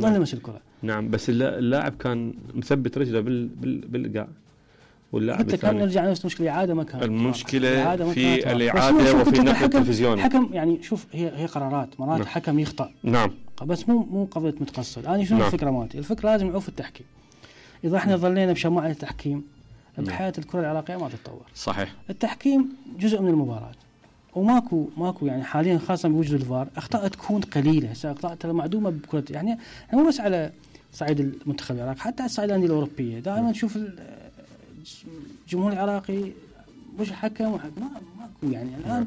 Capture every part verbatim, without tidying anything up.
ظل يمس الكره. نعم بس اللاعب كان مثبت رجله بال بال بالايقاع، واللاعب حتى كان نرجع نفس المشكله، اعاده ما كانت المشكله في الاعاده وفي النقل التلفزيوني. حكم يعني شوف هي هي قرارات مرات. نعم. حكم يخطأ. نعم. بس مو مو قضيه متقصد. انا شنو نعم. الفكره مالتي؟ الفكره لازم نعوف التحكيم. اذا احنا ظلينا بشماعه التحكيم بحياه الكره العراقيه ما تتطور. صحيح. التحكيم جزء من المباراه، وماكو ماكو يعني حاليا خاصه بوجود الفار اخطاء تكون قليله، هسه اخطاء ترى معدومه بكره، يعني مو بس على صعيد المنتخب العراقي حتى على صعيد الانديه الاوروبيه. دائما نشوف الجمهور العراقي مش حكم ما ماكو يعني الان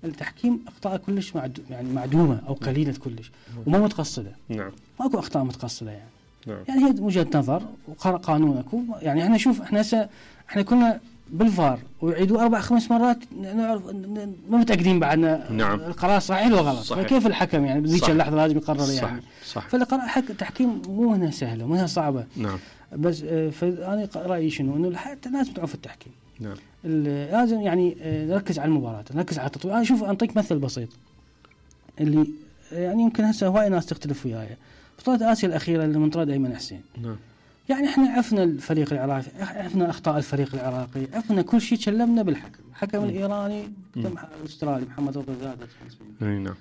التحكيم اخطاء كلش معدو يعني معدومه او قليله كلش وما متقصده. نعم. ماكو اخطاء متقصده يعني. نعم. يعني هي وجهه نظر وقانون اكو، يعني احنا شوف احنا هسه احنا كنا بالفار ويعيدوا اربع خمس مرات نعرف ما متاكدين بعدنا. نعم. القرار صحيح ولا غلط. صحيح. كيف الحكم يعني بذيك اللحظه لازم يقرر يعني. صح. صح. فالقرار حق التحكيم مو هنا سهله مو هنا صعبه. نعم. بس فانا رايي شنو انه حتى لازم تعرف التحكيم. نعم. لازم يعني نركز على المباراه، نركز على التطوير. انا شوف انطيك مثل بسيط اللي يعني يمكن هسه هواي ناس تختلف وياي. بطولة آسيا الأخيرة اللي من طرد أيمن حسين. نعم. يعني احنا عرفنا الفريق العراقي، عرفنا أخطاء الفريق العراقي، عرفنا كل شيء، تكلمنا بالحكم، الحكم الإيراني الأسترالي محمد رضا زادة. نعم.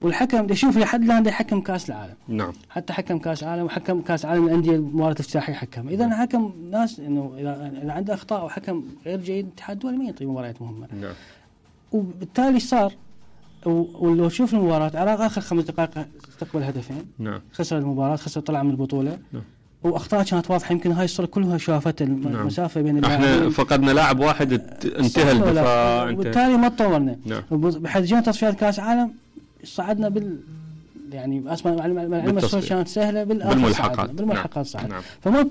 والحكم شوف لحد الآن ده حكم كأس العالم. نعم. حتى حكم كأس العالم وحكم كأس العالم الأندية مباراة افتتاحية حكم. إذا حكم ناس إنه إذا عنده أخطاء وحكم غير جيد الاتحاد الدولي ما يعطي مباريات مهمة. نعم. وبالتالي صار ولو شوف المباراة العراق آخر خمس دقائق استقبل هدفين. نعم. خسر المباراة، خسر طلع من البطولة. نعم. واخطاء كانت واضحه، يمكن هاي الصوره كلها شافت المسافه. نعم. بين اللاعبين. احنا فقدنا لاعب واحد انتهى الدفاع، وبالتالي ما تطورنا. نعم. بحيث جينا تصفيات كاس عالم صعدنا بال يعني اسمع المعلومه كانت سهله بالملحقات. بالملحقات صعد. نعم. فما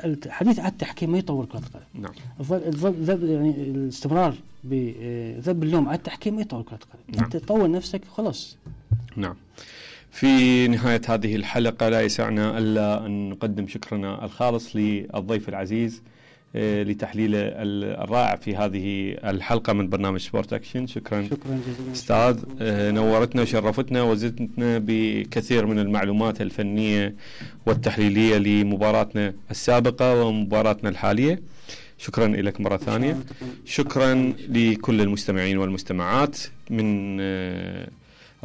الحديث عن التحكيم ما يطور كره القدم. نعم. الذب يعني الاستمرار بذب اللوم على التحكيم ما يطور كره القدم. نعم. انت تطور نفسك خلاص. نعم. في نهاية هذه الحلقة لا يسعنا إلا أن نقدم شكرنا الخالص للضيف العزيز لتحليله الرائع في هذه الحلقة من برنامج سبورت أكشن. شكرا. شكرا جزيلا أستاذ، نورتنا وشرفتنا وزدتنا بكثير من المعلومات الفنية والتحليلية لمباراتنا السابقة ومباراتنا الحالية. شكرا لك مرة ثانية. شكرا لكل المستمعين والمستمعات من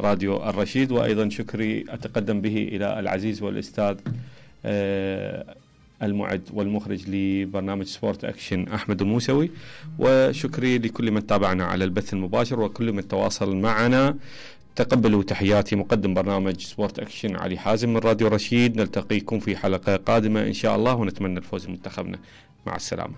راديو الرشيد، وأيضا شكري أتقدم به إلى العزيز والأستاذ المعد والمخرج لبرنامج سبورت أكشن أحمد الموسوي، وشكري لكل من تابعنا على البث المباشر وكل من تواصل معنا. تقبلوا تحياتي مقدم برنامج سبورت أكشن علي حازم من راديو رشيد. نلتقيكم في حلقة قادمة إن شاء الله، ونتمنى الفوز بمنتخبنا. مع السلامة.